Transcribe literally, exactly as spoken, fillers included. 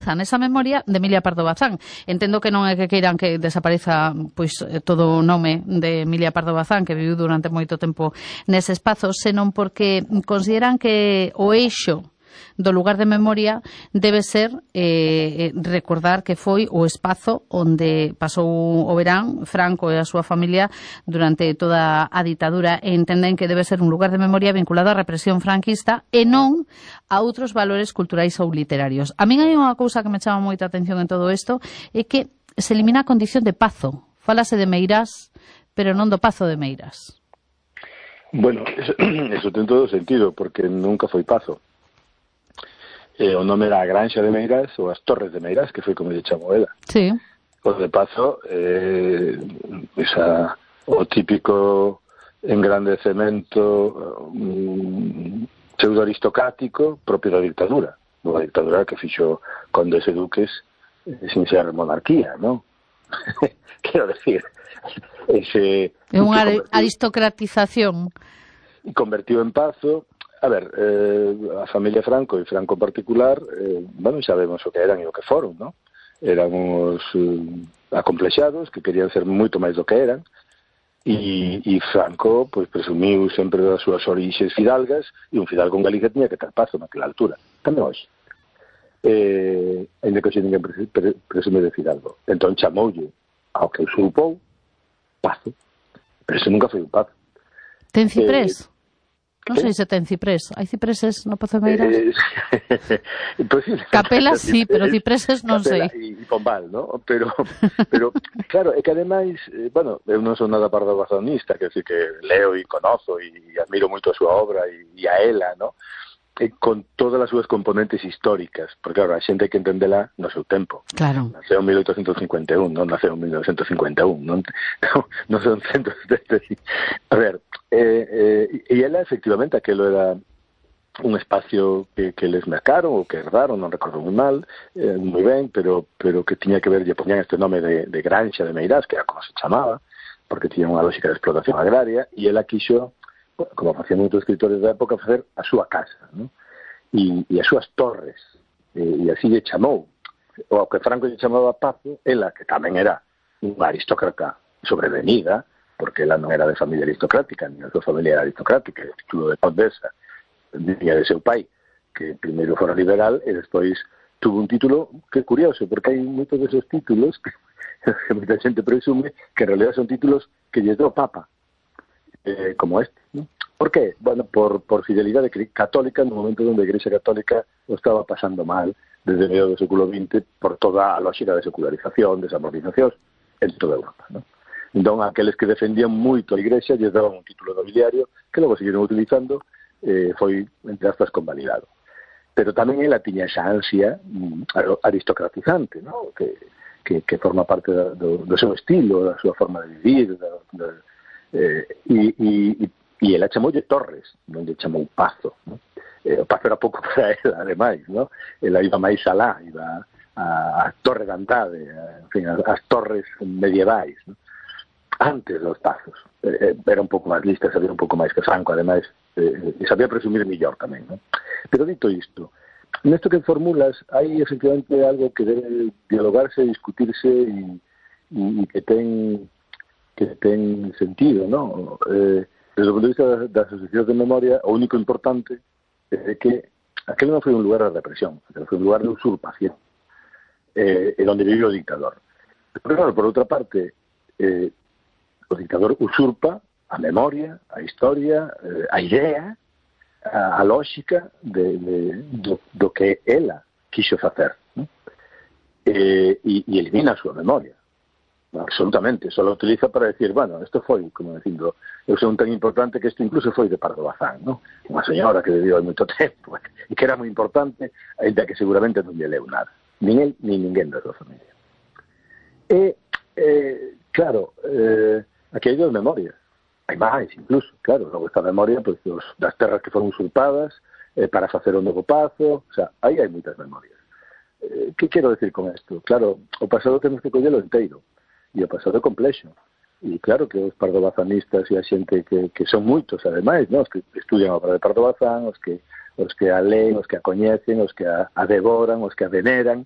esperanza nesa memoria de Emilia Pardo Bazán. Entendo que non é que queiran que desapareza pois todo o nome de Emilia Pardo Bazán, que viviu durante moito tempo nese espazo, senón porque consideran que o eixo do lugar de memoria debe ser eh, recordar que foi o espazo onde pasou o verán Franco e a súa familia durante toda a ditadura, e entenden que debe ser un lugar de memoria vinculado á represión franquista e non a outros valores culturais ou literarios. A min hai unha cousa que me chama moita atención en todo isto, é que se elimina a condición de pazo. Fálase de Meirás, pero non do Pazo de Meirás. Bueno, eso, eso ten todo sentido, porque nunca foi pazo. Eh, o nome era a Granxa de Meirás ou as Torres de Meirás, que foi como lle chamou ela. Sí. O de pazo, eh, esa, o típico engrandecemento um, pseudo-aristocrático propio da dictadura. Unha dictadura que fixo condes e duques eh, sin ser monarquía, non? Quero decir, ese... É unha aristocratización. E convertiu en pazo. A ver, eh, a familia Franco e Franco en particular, eh, bueno, sabemos o que eran e o que foron, non? Eran uns eh, acomplexados que querían ser moito máis do que eran, e, e Franco, pois, presumiu sempre das súas orixes fidalgas, e un fidalgo en Galicia tiña que ter pazo naquela altura, tamén hoxe. Eh, ainda que hoxe ninguén presume de fidalgo. Entón chamoulle ao que usurpou pazo, pero eso nunca foi un pazo. Ten ciprés? Eh, Non sei se ten ciprés. Hai cipreses no Pazo de Meirás? Eh, pues sí, Capelas sí, pero cipreses non sei. E pombal, ¿no? Pero, pero claro, é que ademais, eh, bueno, eu non son nada pardobazonista, que decir que leo e conozo e admiro moito a súa obra e, e a ela, ¿no? E con todas as súas componentes históricas, porque claro, a xente hai que entendela no seu tempo. Claro. Naceu en mil oitocentos cincuenta e un, non naceu en mil novecientos cincuenta e un, non, non, non son centos de... A ver, eh, eh, e ela efectivamente aquelo era un espacio que, que les mercaron ou que herdaron, non recordo moi mal, eh, moi ben, pero pero que tiña que ver, lle poñían este nome de, de Granxa de Meirás, que era como se chamaba, porque tiña unha lógica de explotación agraria, e ela quixo, como facían moitos escritores da época, facer a súa casa, ¿no? E, e as súas torres, e, e así lle chamou. O que Franco lle chamaba Pazo, ela, que tamén era unha aristócrata sobrevenida, porque ela non era de familia aristocrática, ni a súa familia era aristocrática, o título de condesa viña de seu pai, que primeiro fora liberal e despois tuvo un título que é curioso, porque hai moitos deses títulos que, que moita xente presume que en realidad son títulos que lle deu Papa, eh, como este, ¿no? ¿Por qué? Bueno, por, por fidelidade católica no momento onde a Igrexa Católica o estaba pasando mal desde o medio do século vinte por toda a lógica de secularización, desamortización en toda Europa, ¿no? Entón, aqueles que defendían moito a Igrexa lles daban un título nobiliario que logo seguiron utilizando, eh, foi, entre aspas, convalidado. Pero tamén ela tiña esa ansia mm, aristocratizante, ¿no? que, que, que forma parte da, do, do seu estilo, da súa forma de vivir, da, da, eh, e, e, e ela chamoulle Torres, non lle chamou Pazo, ¿no? Eh, o Pazo era pouco para ela, ademais, ¿no? Ela iba máis alá, iba a, a Torre de Andade, a, en fin, as, as torres medievais, ¿no? Antes dos Pazos. Eh, era un pouco máis lista, sabía un pouco máis que Franco, ademais, eh, e sabía presumir millor tamén, ¿no? Pero dito isto, nesto que formulas, hai efectivamente algo que debe dialogarse, discutirse e, e que ten que ten sentido, ¿no? Eh, desde o punto de vista das asociacións de memoria, o único importante é que aquel non foi un lugar de represión, foi un lugar de usurpación, eh, en onde vive o dictador. Pero claro, por outra parte, eh, o dictador usurpa a memoria, a historia, eh, a idea, a, a lógica de, de, do, do que ela quixo facer, ¿no? Eh, e, e elimina a súa memoria. Absolutamente, só lo utiliza para decir, bueno, isto foi, como dicindo, eu son tan importante que isto incluso foi de Pardo Bazán, ¿no? Unha señora que viviu hai moito tempo e que era moi importante, ainda que seguramente non lle leu nada, nin el, nin ninguén da súa familia. E, eh, claro, eh, aquí hai dos memorias, hai máis incluso, claro, logo esta memoria pues, dos, das terras que foron usurpadas eh, para facer o novo Pazo, o sea, aí hai moitas memorias. Eh, que quero decir con isto? Claro, o pasado temos que collelo inteiro, e o pasado é complexo. E claro que os pardobazanistas e a xente que, que son moitos, ademais, ¿no? Os que estudian a obra de Pardo Bazán, os que, os que a leen, os que a coñecen, os que a, a devoran, os que a veneran,